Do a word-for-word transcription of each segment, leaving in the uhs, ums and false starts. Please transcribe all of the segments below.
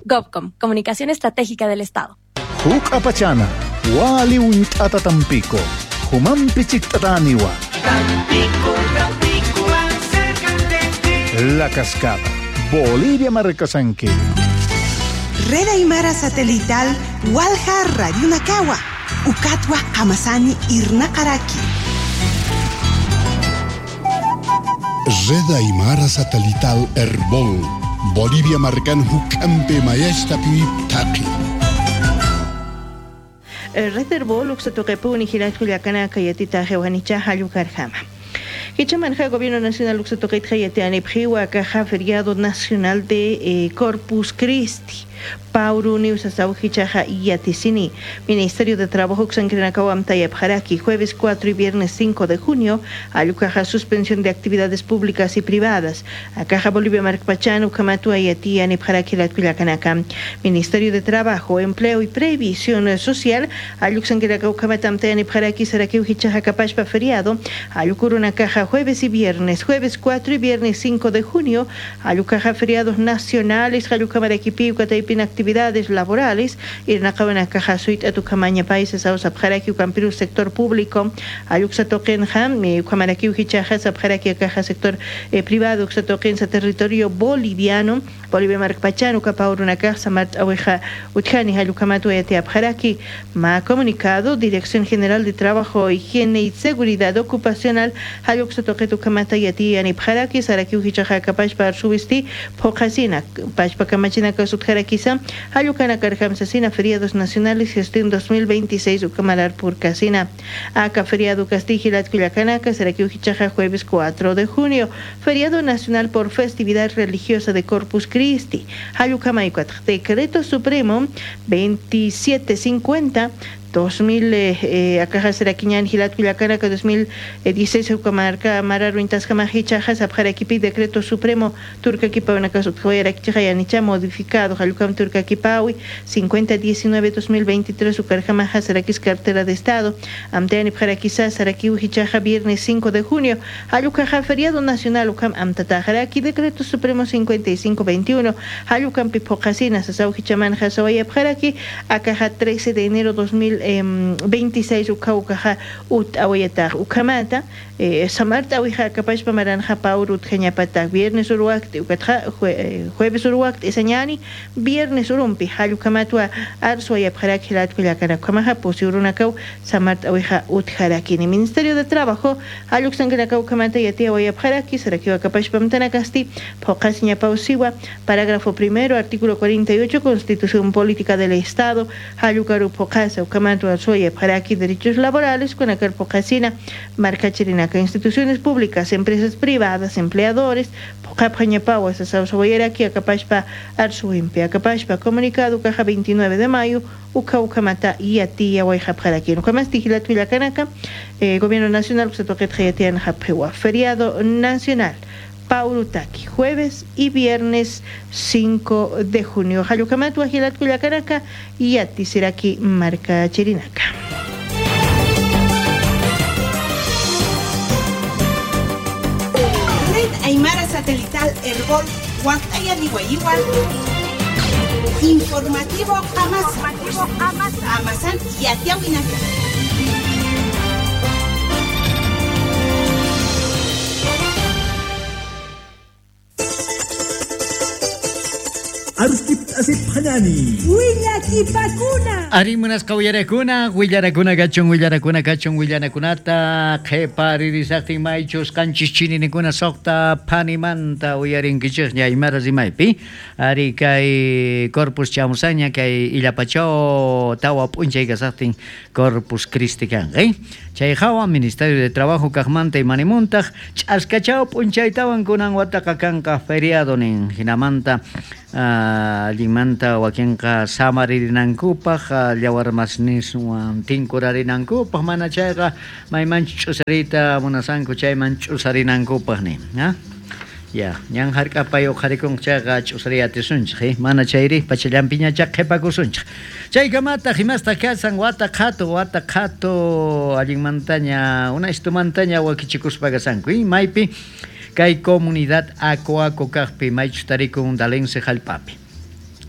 GovCom, Comunicación Estratégica del Estado. Huk apachana, wali unt'ata Tampico, Humampi chikt'ataniwa. Tampico, Tampico, acércate. La Cascada, Bolivia Marcasanqui. Red Aymara Satelital, Walja Radiunakawa, Ukatwa Hamasani Irnakaraki. Red Aymara Satelital Herbol, Bolivia Marcan Hukampe Mayashtapi Taki. Red Herbol, Uxatoquepuni, Hilatculiacana, Yatita, Jewanicha, Hayucarjama. Hichamarja, Gobierno Nacional Uxatoquetja, Yatianipjiwa, Caja, Feriado Nacional de eh, Corpus Christi. Pauru Niusasau Hichaja y Yaticini. Ministerio de Trabajo Xancrenacau Amtayapjaraki, jueves cuatro y viernes cinco de junio, Ayucaja suspensión de actividades públicas y privadas. Acaja Bolivia Marcpachan, Ucamatua Yatía Nipjaraki Latquilacanacam. Ministerio de Trabajo, Empleo y Previsión Social, Ayuxanquiracau Kamatamtaya Nipjaraki Saraquiu Hichaja Capashpa feriado, Ayucuruna Caja jueves y viernes, jueves cuatro y viernes cinco de junio, Ayucaja feriados nacionales, Ayucamaraquipi, Ucataypin actividades laborales, Irnacabana Caja Suit Atucamaña Países, Ausapjaraki, Ucampiru sector público, Ayuxatoquenja, Ucamaraquiu Hichaja, Sapjaraki Caja sector eh, privado, Uxatoquenza territorio boliviano, Bolivia Marcpachan, Ucapauruna Caja, Mart Aweja Utjani, Ayucamatu Etiapjaraki, ma comunicado, Dirección General de Trabajo, Higiene y Seguridad Ocupacional, Ayuxatoquetu Kamata Yati Anipjaraki, Saraquiu Hichaja Capashpa Arsubisti, Pocasina, Pashpa Kamachina Kasutjarakisa, Ayucana Carjamsasina, feriados nacionales, gestión dos mil veintiséis, Ucamalar Purcasina, Aca, feriado Castigilat Culiacanaca, Saraquiu Hichaja, jueves cuatro de junio, feriado nacional por festividad religiosa de Corpus Christi, Ayucamaycuatl, Decreto Supremo veintisiete cincuenta, dos mil, eh, acá será Quiñán, Gilat, Culiacanaca, dos mil dieciséis, Ucamarca, Mararuintas, Jamajicha, Jasapjaraquipi, Decreto Supremo, Turcaquipa, Unacasutjoyaraquichayanicha, modificado, Jalucam, Turcaquipaui, cincuenta diecinueve, dos mil veintitrés, Ucarjamaja, Saraquis, Cartera de Estado, Amteani, Jaraquisa, Saraquiu, Hichaja, viernes cinco de junio, Jalucaja, feriado nacional, Ucam, Amtatajaraqui, Decreto Supremo cincuenta y cinco veintiuno, Jalucam, Pipocasina, Sasau, Hichaman, Jasawayap, Jaraqui, Acaja, trece de enero dos mil veintiséis, Ucaucaja, Ut, Ahuyataj, Ucamata, eh, Samarta, Ahuija, Capashpa, Maranja, Paur, Utjañapata, viernes Uruacti, Ucatja, jue, jueves Uruacti, Esañani, viernes Urumpi, Jalucamatua, Arzuayap, Jaraqui, Latculiacanacamaja, Posiurunacau, Samarta, Ahuija, Utjarakini. Ministerio de Trabajo, Aluxanganacau, Camata, Yatia, Ahuayap, Jaraqui, Saraquiwa, Capashpa, Mtanacasti, Pocasiña, Pausiwa, parágrafo primero, artículo cuarenta y ocho, Constitución Política del Estado, Jalucaru, Pocasa, Ucamata, Arzuayap, Jaraqui, derechos laborales, con Acar, Pocasina, Marca Chirinaca, instituciones públicas, empresas privadas, empleadores, Pocapjañapaua, Sasausahuayaraqui, Acapashpa, Arzuimpe, Acapashpa, comunicado, caja veintinueve de mayo, Ucaucamata, Yatía, Guayjapjaraqui. Nucamasti, Gilathuilacanaka, eh, Gobierno Nacional, Uxatoquetjayatian, Japjewa, feriado nacional. Paurutaki, jueves y viernes cinco de junio. Jayucamatu, Ajilatcuyacanaka y Atisiraki, Marca Chirinaca. Red Aymara Satelital Herbol, Huactaya, Igual. Informativo Amazon. Amazon y Atiahuinaca. Willakipakuna. Arimunas kawillarakuna, willarakuna kachun, willarakuna kachun, willanakunata, qheparirisaqtin maychus qanchis chininikuna suqta phanimanta uyarinkichikña Aymara rimaypi. Ari kay Corpus chamusaña kay Illapachao tawa p'unchay kasaqtin Corpus Christi kanqa, eh? Chay hawa Ministerio de Trabajo kaqmanta imanimuntaq ch'askachao p'unchaytawan kunan wataqa kanqa feriado nin hinamanta allinmanta wakinqa samarinankupaq llawarmasniswan tinkurarinankupaq mana chayqa maymanchu ch'usariyta munasanku chayman ch'usarinankupaq nin, ha? Ya, ñan hark'apay uqharikunqa chayqa ch'usariy atisunchik, eh? Mana chayri pachallampiñacha qhipakusunchik. Chaykamataq imastaq kasan wata qhatu, wata qhatu allinmantaña unaystumantaña wakichikuspa kasanku, eh? Maypi kay comunidad Acoaco kaqpi maychus tarikun Dalense hallp'api.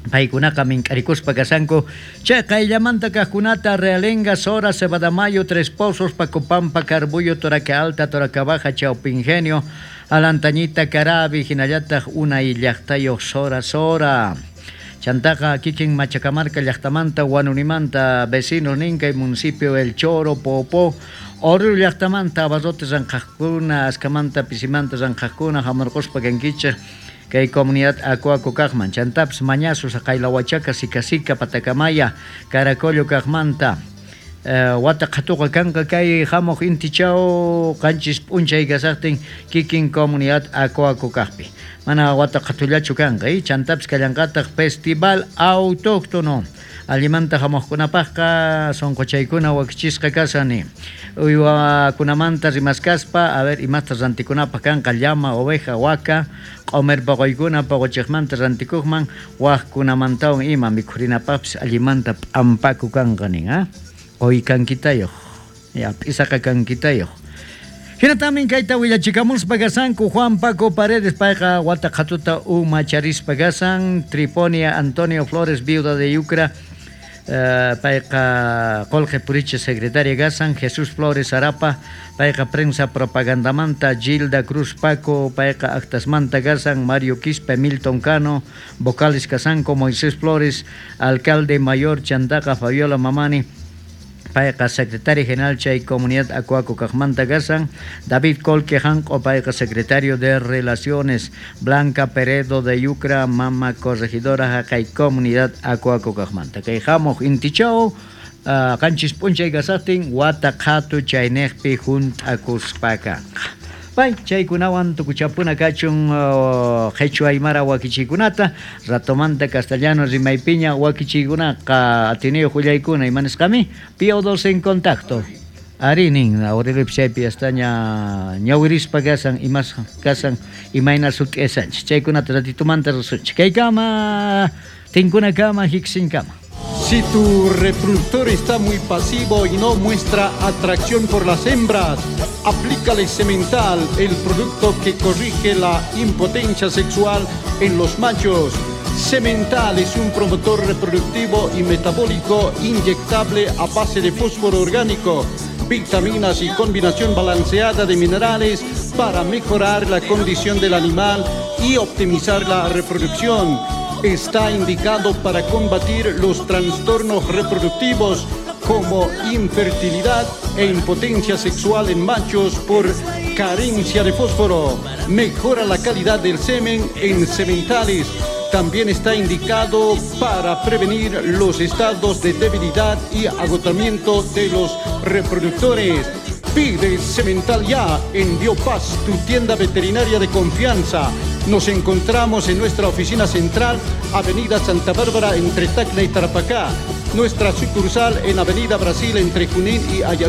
Paykunaqa mink'arikuspa kasanku chay qayllamanta kaqkunata Realenga, Sora, Cebadamayo, Tres Pozos, Pacopampa, Carbuyo, Toraca Alta, Toraca Baja, Chaupingenio, Alantañita, Carabi, hinallataq unay llaqtayuq Sora Sora. Chantaqa kikin Machacamarca llaqtamanta, Huanunimanta, vecinos ninkay municipio El Choro, Popó, Oruro llaqtamanta, abarrotes ranqaqkuna, askamanta, pisimanta ranqaqkuna, hamurquspa kankichik kay comunidad Acuaco kaqman, chantapis Mañazo, Saqaylahuachaca, Sicasica, Patacamaya, Caracollo kaqmanta. Uh, wata qhatuqa kanqa kay hamuq intichaw qanchis p'unchay kasaqtin kikin comunidad Acuaco kaqpi. Mana wata qhatullachu kanqa, eh? Chantapis kallanqataq festival autóctono. Allimanta hamuqkunapaqqa sunquchaykuna wakichisqa kasani. Uywakunamanta rimaskaspa, a ver, imasta rantikunapaq kanqa llama, oveja, waka, q'umir poqoykuna poqochiqmanta rantikuqman, waqkunamantawan ima mikhurinapaqpis allimanta p'ampaku kanqa nin, ah? Qoy kankitayuq, ya, p'isaqa kankitayuq. Hinatamin kayta willachikamuspa kasanku Juan Paco Paredes payqa wata qhatuta umacharispa kasan, Triponia Antonio Flores, viuda de Yucra, uh, payqa Qolqe Puriche secretaria kasan, Jesús Flores Arapa, payqa prensa propagandamanta, Gilda Cruz Paco, payqa actasmanta kasan, Mario Quispe, Milton Cano, vocales kasanku, Moisés Flores, alcalde mayor Chantaqa, Fabiola Mamani, payqa secretario general chay comunidad Acuaco kaqmanta kasan, David Colque Janco, payqa secretario de Relaciones, Blanca Peredo de Yucra, mama corregidora haqay comunidad Acuaco kaqmanta. Kay hamuq intichaw uh, qanchis p'unchay kasaqtin wata qhatu chayniqpi hunt'akuspa kanqa. Pay chaykunawan tukuchapuna kachun qhichwa aymara wakichiykunata ratomanta castellano rimaypiña wakichiykunaqa atiniyuq willaykuna imanisqami Pío dos en contacto. Ari nin Aurelio chaypi yastaña ñawirispa kasan imas kasan imayna sut'isanchik chaykunata ratitumanta rusunchik kaykama tinkunakama hiksinkama. Si tu reproductor está muy pasivo y no muestra atracción por las hembras, aplícale Semental, el producto que corrige la impotencia sexual en los machos. Semental es un promotor reproductivo y metabólico inyectable a base de fósforo orgánico, vitaminas y combinación balanceada de minerales para mejorar la condición del animal y optimizar la reproducción. Está indicado para combatir los trastornos reproductivos como infertilidad e impotencia sexual en machos por carencia de fósforo. Mejora la calidad del semen en sementales. También está indicado para prevenir los estados de debilidad y agotamiento de los reproductores. Pide Semental ya en Biopaz, tu tienda veterinaria de confianza. Nos encontramos en nuestra oficina central, Avenida Santa Bárbara, entre Tacna y Tarapacá. Nuestra sucursal en Avenida Brasil, entre Junín y Ayacucho.